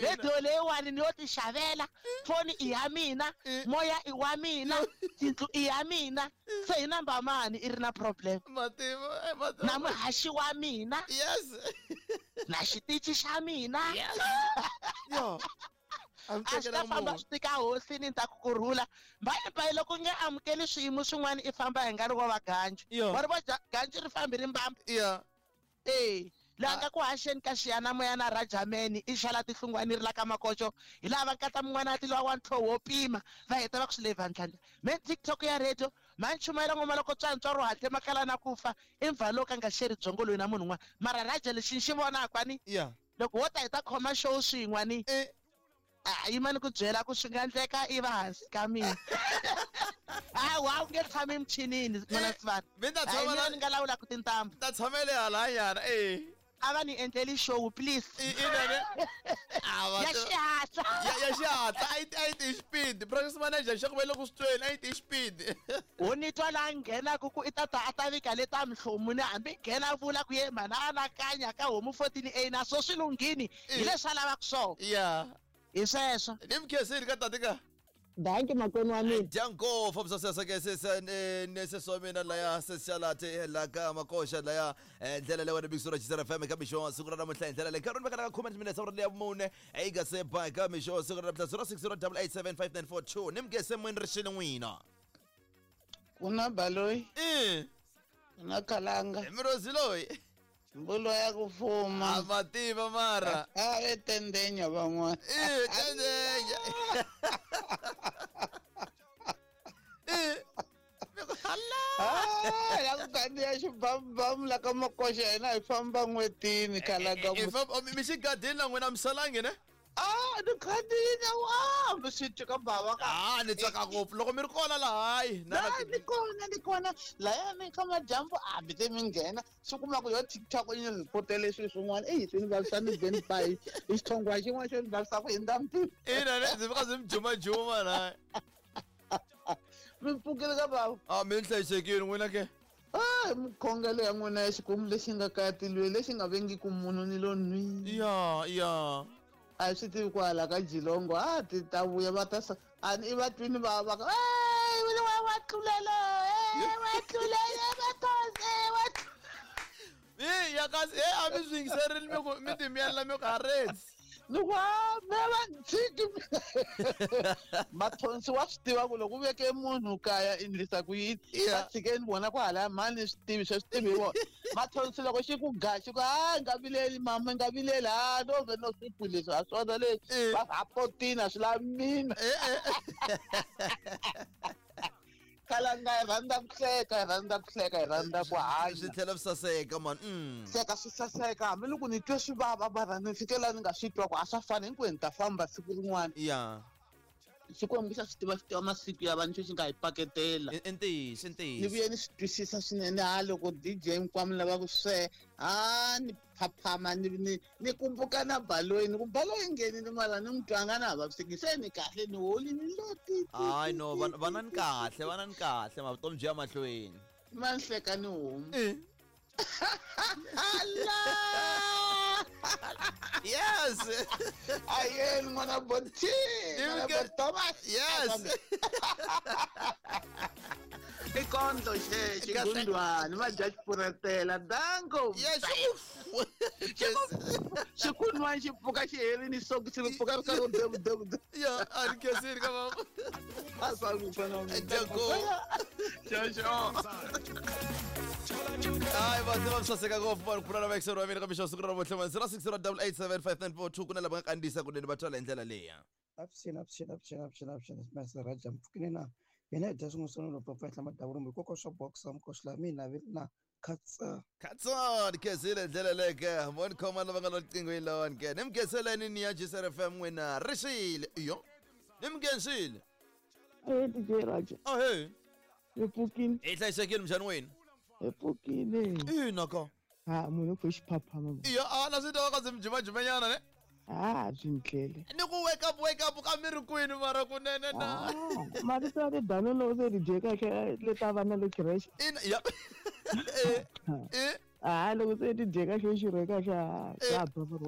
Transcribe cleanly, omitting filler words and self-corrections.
Radio leyiwani ni yo ti xavela, foni i ya mina, moya i wa mina, tindlu i ya mina. Se hi namba mani i ri na problem? Mativa, eh, mativa. Na muhaxi wa mina. Yes. Na xitichi xa mina. Yes. Yo. A mi A swi ta tekela famba munhu. swi tika hosini ni ta ku kurhula. Mbayibayi loko u nge amukeli swiyimo swin'wana i famba hi nga ri wa va ganju. Yo. Wa ri vo ganju ri fambi ri mbamba. Yeah. E laha nga ku haxeni ka xiyanimoya na Rajameni i xala tihlungwani ri la ka makoxo hi laha va nkata mun'wana a tilowa wa ntlhoho wo pima va heta va ku swi le vandlani me TikTok ya radio ma ni chumayela ngoma loko tswantswa ro hatle makala na ku fa i mva lowu ka nga xeri byongo loyi na munhu un'wana mara Raja lexi ni xi vonaka ni Yeah. loko wo ta hi ta khoma show swin'we ni Eh. a yima ni ku byela ku swi nga endleka i va hansi ka mina. Hawa u nge tshami michinini n'wana Sivana. Mi ta Hayi, tshama mina la- ni nga lawulaka tintambu. Ta tshamele halanyana eh. A va ni endleli show please. I ina ne. A va Ya xihatla. Ya ya xihatla a yi a yi ti speed. Practice manager xa ku va le ku swi tweni a yi ti speed. Wo ni twa laha nghenaka ku i ta ta a ta vika le ta mihlomu ni hambi nghena vula ku ye mhana anakanya ka homu 14 A na swo swi lunghini hi leswi a lavaka swona. Yeah. Hi sweswo. Ni mi khensile ka tati ka. Dankie makwenu wa mina. Dyango fambisa seseke nesesi wa mina laya sesixalate la ka makoxa laya ndlela leyi wena big Chisera FM ka mixo wa siku ra namuntlha hi ndlela leyi nkarhi ni vekela ka khume timinetse awara leya mune yi nga se ba ka mixo wa siku ra namuntlha 0608875942 ni mugese mwini ri xini n'wina Ku na baloyi, i ku na kalanga, mirozi loyi mbulo ya ku a fuma. ma tiva mara A ve tendenya van'wana. i tendenya i Ah, la ku kandziya xibamubamu la ka makoxa hina hi famba n'wetini kalanga. Mi xigadini na n'wina misalangi ne? Ah, ni khandziyile wa mi swi twi ka bava ka. Ah, ni tsaka ngopfu loko mi ri kona laha hayi Na ni kona ni kona laya ni ka madyambu a mi te mi nghena swi kuma ku yo TikTok yi ni ripotele swilo swin'wana eyi swi ni vavisa ni be ni ba hi hi xithongwa xin'wana xo ni vavisa ku hindza mpimo. Ina ne ndzi fika ndzi mi jumajuma na Mi pfukile ka bava. a mi ni hlayisekile n'wina ke. Ah, mikhongelo ya n'wina ya Xikwembu lexi nga kaya tilweni lexi nga vengiki munhu ni lo nwi. Ya ya. A hi swi tivi ku hala ka Jilongo a ti ta vuya va ta sa a ni i va twini va va ka "Ey, wa wa tlulela eh, wa tlulela va those wa tlu-" I ya kasi e a mi swi yingiserile mi ku mi timiyela mi ku ha retsi. Ni ku "Ah, me va ni tshiki mina." Mathonsi wa swi tiva ku loko u veke munhu kaya i endlisa ku yini. Yeah. Va tshikeni vona ku hala mani swi tivi swa swi tivi hi vona. Mathonsi loko xi ku ga xi ku a nga vileli mama nga vileli a no ve no swi ku leswi ha swona leswi Eh. va ha potini a swi lavi mina. Eh eh. Kalanga hi rhandza ku hleka hi rhandza ku hleka hi rhandza ku Swi hanya. tlhela swi saseka man. Hleka swi saseka hambiloko ni twe swi vava mara ni fike laha ni nga swi twa ku a swa fani hinkwenu ni ta famba siku rin'wana. Ya. Xikwembu xa swi tiva xi tiva masiku ya vanhu xo xi nga hi paketela. I ntiyiso i Ni ntiyiso. vuye ni swi twisisa swinene ha loko DJ Nkwama lava ku swe ha ni phaphama ni ni ni kumbuka na baloyi ni ku baloyi nghenile mara ni n'wi twanga na ha vaviseki se ni kahle ni holini leti. Hayi no va na ni kahle va na ni kahle mavutomi byi ya mahlweni. Ma ni hleka ni homu. Eh. Ala! Yes. Ayeni n'wana Boti, n'wana Thomas. Yes. I kondlo xe xigundwani va dya xipuretela danko. Yes. Xikunwani xi pfuka xi herini soki xi ri pfuka ri karhi devu devu devu. Ya, a ni khensile ka mama. A swa ku fana na Danko. Xo. Hayi va tiva swi saseka ngopfu vanhu ku pfuna na vayingiseri va mina ka mixo siku ra namuntlha man 0608875942 ku na lava nga kandziyisa kunene va twala hi ndlela leya. Avuxeni, avuxeni, avuxeni, avuxeni, avuxeni, Master Raja mpfukini na hina hi dya swin'we swa loko papa henhla madavurumbu hikokwalaho swa boxa mukhoxi laha mina vi na khatsa. Khatsa ni khensile hi ndlela leyo ke mo ni khoma lava nga lo riqingweni lawani ke ni mi khenseleni ni ya Gsr FM n'wina ri xile iyo ni mi khensile. Eh DJ Raja, Ahee. hi pfukini, Hi hlayisekile minjhani wena? hi pfukini. Ina ka. Ha munhu u pfe xiphaphama. Iyo a na swi twa ka ndzi mi jumajumanyana ne. Ha byi ndlele. Ni ku wake up wake up ka mi ri kwini mara kunene na. Ah, marito ya ridano loko se ri dye kahle le ta va na le creche. Ina ya. Eh. Eh. Ah, loko se ti dye kahle xi rhe kahle ha Eh. xa ba